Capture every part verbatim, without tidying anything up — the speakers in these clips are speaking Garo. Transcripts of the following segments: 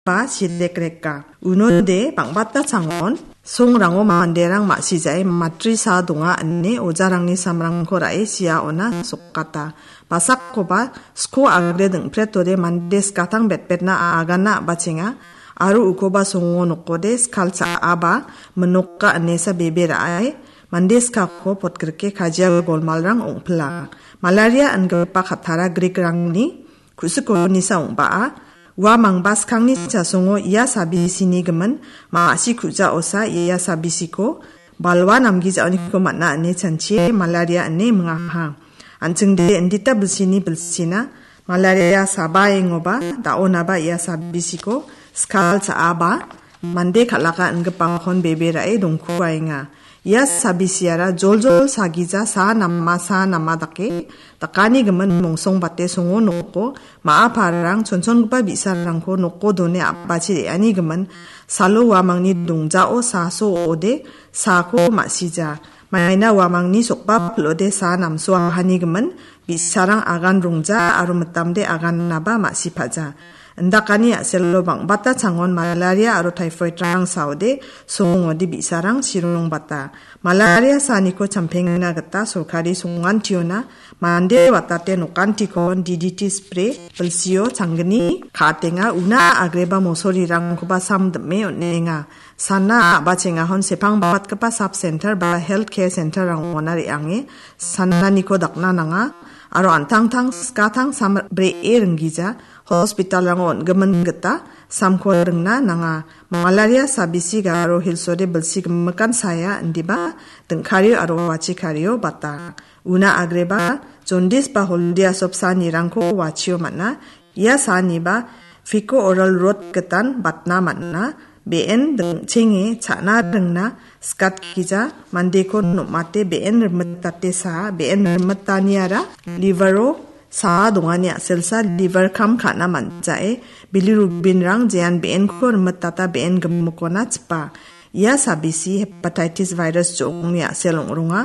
ba silekreka. Unode bang·bata changon songrango manderang ma·sijae matrisa donga ine ojarangni samrangko ra·e siaona sokata. Basakkoba sko agre dingpretode mande skatang betbetna agana a·bachenga, aro ukoba songo nokode skal cha·aba minoka inesa bebe ra·e mande skako potgrike kajia golmalrang ong·pila. Malaria ingipa kattara Greek-rangni ku·sikonisa ong·baa, uamangba skangni chasongo ia sabisini gimin ma·si ku·jaosa ia sabisiko balwa namgijaoniko man·a ine chanchie malaria ine mingaha. An·chingde indita bilsini bilsina malaria sabaengoba da·onaba ia sabisiko skal cha·aba mande kal·aka ingipakon bebe ra·e dongkuaenga. Ia sabisiara joljol sagija sa nama sa nama dake dakani gimin mongsongbate songo noko ma·a pararang chonchongipa bi·sarangko noko done a·bachi re·ani gimin salo uamangni dongjao sa so ode sako ma·sija. Maina uamangni sokba pil·ode sa namsoahani gimin bi·sarang agan rongja aro mitamde agannaba ma·sipaja. Indakani a·selo bang·bata changon malaria aro typhoid-rang saode songode bi·sarang sirongbata. Malaria saniko champengna gita sorkari songantiona mande watate nokantikon D D T spray, bilsio changgni ka·atenga, una agreba mosorirangkoba sam dim·e on·enga. Sana a·bachengahon sepangbatgipa sub center ba health care center-rangona re·ange sananiko dakna nanga, aro an·tangtang skatang sam bri·e ringgija hospital-rango on·gimin gita samko ringna nanga. Malaria sabisi Garo Hills-ode bilsi gimikan saya indiba dingkario aro wachikario bata. Una agreba jondis ba holdia sop sanirangko wachio man·a. Ia saniba Fico Oral Rot gitan batna man·a. Be·en dingchenge cha·na ringna skat gija mandeko nom·ate be·en rimitate sa, be·en rimitaniara livero sa dongani a·selsa liver kam ka·na man·jae bilirubinrang jean be·enko rimitata be·en gimikona chipa. Ia sabisi hepatitis virus jo·ongni a·sel ong·ronga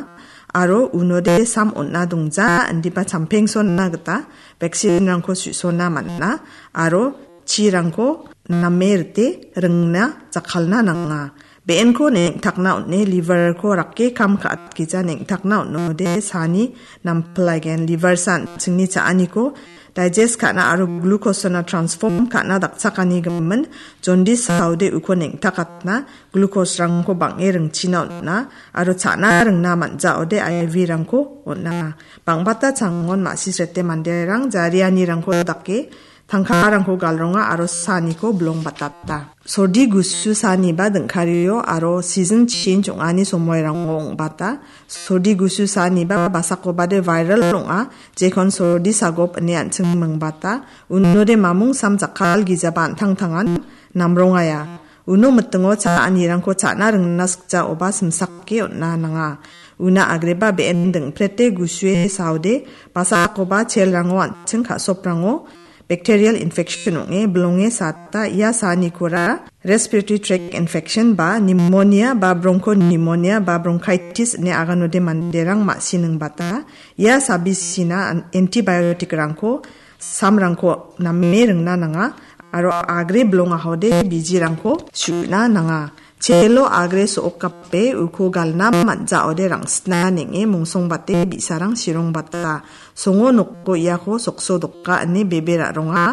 aro unode sam on·na dongja indiba champengsona gita vaccine-rangko su·sona man·a aro chirangko name rite ringna jakkalna nanga. Be·enko neng·takna on·e liver-ko rake kam ka·atgija neng·takna on·ode sani nampilaigen. Liver san chingni cha·aniko digest ka·na aro glucose-ona transform ka·na dakchakani gimin jondis saode uko neng·takatna glucose-rangko bang·e ringchina on·a aro cha·na ringna man·jaode I V-rangko on·a. Bang·bata changon ma·sisrete manderang jarianirangko dake tangkarangko galronga aro saniko bilongbatata. Sordi gusu saniba dingkario aro season change ong·ani somoirango ong·bata. Sordi gusu saniba basakobade viral ong·a, jekon sordi sagop ine an·ching mingbata. Unode mamung sam jakkal gijaba an·tangtangan namrongaia. Uno mitingo cha·anirangko cha·na ringna sikjaoba simsake on·na nanga. Una agreba be·en dingprete gusue saode, basakoba chelrango an·ching ka·soprango bacterial infection ong·e bilonge sata ia sanikora respiratory tract infection ba pneumonia ba bronchopneumonia ba bronchitis ine aganode manderang ma·siningbata. Ia sabisina an-, antibiotic-rangko samrangko name ringna nanga aro agre bilongahode bijirangko su·na nanga. Chelo agre so·okape uko galna man·jaode rangsitna neng·e mongsongbate bi·sarang sirongbata. Songo noko iako sokso doka ine bebe ra·ronga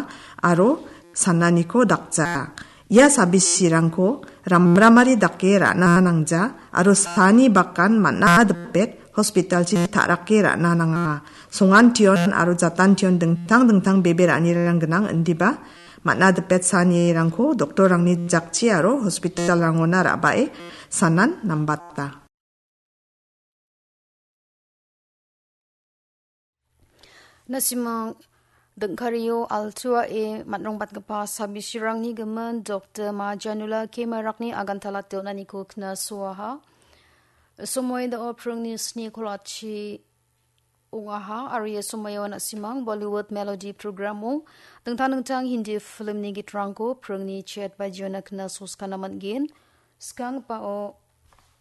aro sananiko dakja. Ia sabisirangko ramramari dake ra·na nangja aro sani bakan man·a dipet hospitalchi ta·rake ra·na nanga. Songantion aro jatantion dingtang dingtang bebe ra·anirang gnang indiba man·a dipet sanirangko doktorrangni jakchi aro hospitalrangona ra·bae sanan nambata. Nasimang dingkario altuae man·rongbatgipa sabisirangni gimin Doktor Majanula Kemarakni aganta late on·aniko knasoaha. Somoi dao pringni sni kolachi ong·aha, aro ia somoio nasimang Bollywood Melody programo dingtang dingtang Hindi filmni gitrangko pringni chet bajiona knasoskana man·gen. Skangpao